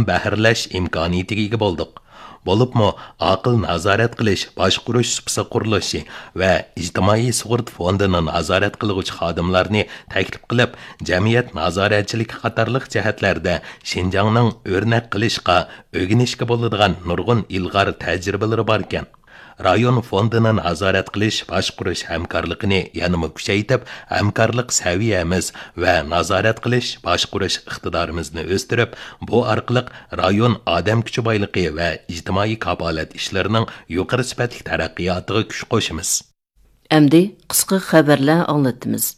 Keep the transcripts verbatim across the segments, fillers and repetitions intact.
بەھرىلەش ئىمكانىيىتىگە ئىگە بولدۇق. بولۇپمۇ ئاقىل نازارەت قىلىش، باشقۇرۇش سۇپىسى قۇرۇلۇشى ۋە ئىجتىمائىي سۇغۇرتا فوندىنى نازارەت قىلغۇچى خادىملارنى تەكلىپ قىلىپ، جەمئىيەت نازارەتچىلىكى قاتارلىق جەھەتلەردە شىنجاڭنىڭ ئۆرنەك قىلىشقا، ئۆگىنىشكە بولىدىغان نۇرغۇن ئىلغار تەجرىبىلىرى باركەن. رايون فوندىنى نازارەت قىلىش، باشقۇرۇش ھەمكارلىقىنى يەنىمۇ كۈچەيتىپ، ھەمكارلىق سەۋىيەمىز ۋە نازارەت قىلىش، باشقۇرۇش ئىقتىدارىمىزنى ئۆستۈرۈپ، بۇ ئارقىلىق رايون ئادەم كۈچى بايلىقى ۋە ئىجتىمائىي كاپالەت ئىشلىرىنىڭ يۇقىرى سۈپەتلىك تەرەققىياتىغا كۈچ قوشىمىز. ئەمدى قىسقا خەۋەرلەر ئاڭلىتىمىز.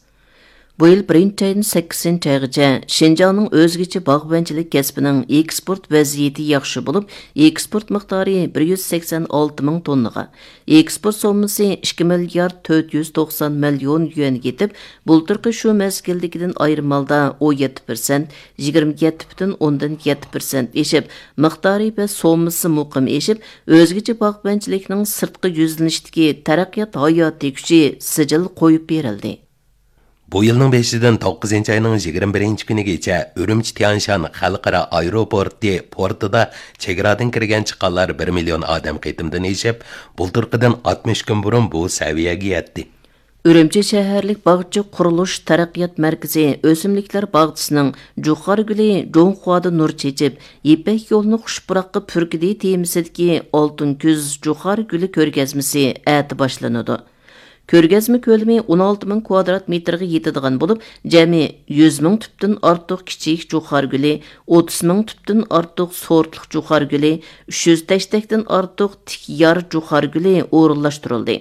بۇ يىل بىرىنچى ئايدىن سەككىزىنچى ئايغىچە شىنجاڭنىڭ ئۆزگىچە باغۋەنچىلىك كەسپىنىڭ ئېكسپورت ۋەزىيىتى ياخشى بولۇپ، ئېكسپورت مىقدارى بىر يۈز سەكسەن ئالتە مىڭ توننىغا، ئېكسپورت سوممىسى ئىككى مىليارد تۆت يۈز توقسان مىليون يۈەنگە يېتىپ، بۇلتۇرقى شۇ مەزگىلدىكىدىن ئايرىم ھالدا ئون يەتتە پىرسەنت، يىگىرمە يەتتە پۈتۈن ئوندىن يەتتە پىرسەنت ئېشىپ، مىقدارى ۋە سوممىسى مۇقىم ئېشىپ، ئۆزگىچە باغۋەنچىلىكنىڭ سىرتقا يۈزلىنىشتىكى تەرەققىيات ھاياتىي كۈچى سىجىل قويۇپ بېرىلدى. بۇ يىلنىڭ بېشىدىن توققۇزىنچى ئاينىڭ يىگىرمە بىرىنچى كۈنىگىچە ئۈرۈمچى تيەنشان خەلقئارا ئايروپورتى پورتىدا چېگرادىن كىرگەن چىققانلار بىر مىليون ئادەم قېتىمدىن ئېشىپ، بۇلتۇرقىدىن ئاتمىش كۈن بۇرۇن بۇ سەۋىيەگە يەتتى. ئۈرۈمچى شەھەرلىك باغچە قۇرۇلۇش تەرەققىيات مەركىزى ئۆسۈملۈكلەر باغچىسىنىڭ جۇخار گۈلى جۇڭخۇادا نۇر چېچىپ، يىپەك يولىنى خۇش پۇراققا پۈركىدى تېمىسىدىكى ئالتۇن كۈز جۇخار گۈلى كۆرگەزمىسى ئەتە باشلىنىدۇ. كۆرگەزمە كۆلىمى ئون ئالتە مىڭ كۋادرات مېتىرغا يېتىدىغان بولۇپ، جەمئىي يۈز مىڭ تۈپتىن ئارتۇق كىچىك جۇخار گۈلى، ئوتتۇز مىڭ تۈپتىن ئارتۇق سورتلۇق جۇخار گۈلى، ئۈچ يۈز تەشتەكتىن ئارتۇق تىك يار جۇخار گۈلى ئورۇنلاشتۇرۇلدى.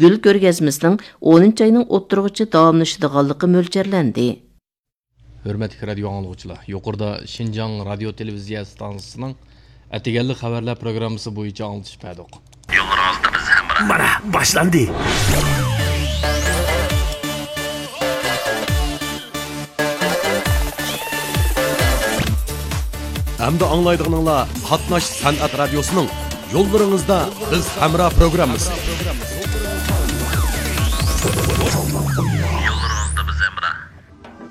گۈل كۆرگەزمىسىنىڭ ئونىنچى ئاينىڭ ئوتتۇرىغىچە داۋاملىشىدىغانلىقى مۆلچەرلەندى. ھۆرمەتلىك رادىيو ئاڭلىغۇچىلار، يۇقىرىدا شىنجاڭ رادىيو تېلېۋىزىيە ئىستانسىسىنىڭ ئەتىگەنلىك خەۋەرلەر پروگراممىسى بويىچە ئاڭلىتىش بەردۇق. يوللىرىڭىزدا بىز ھەمراھ. مانا، باشلاندى. ئەمدى ئاڭلايدىغىنىڭلار قاتناش سەنئەت رادىيوسىنىڭ يوللىرىڭىزدا بىز ھەمراھ پروگراممىسى.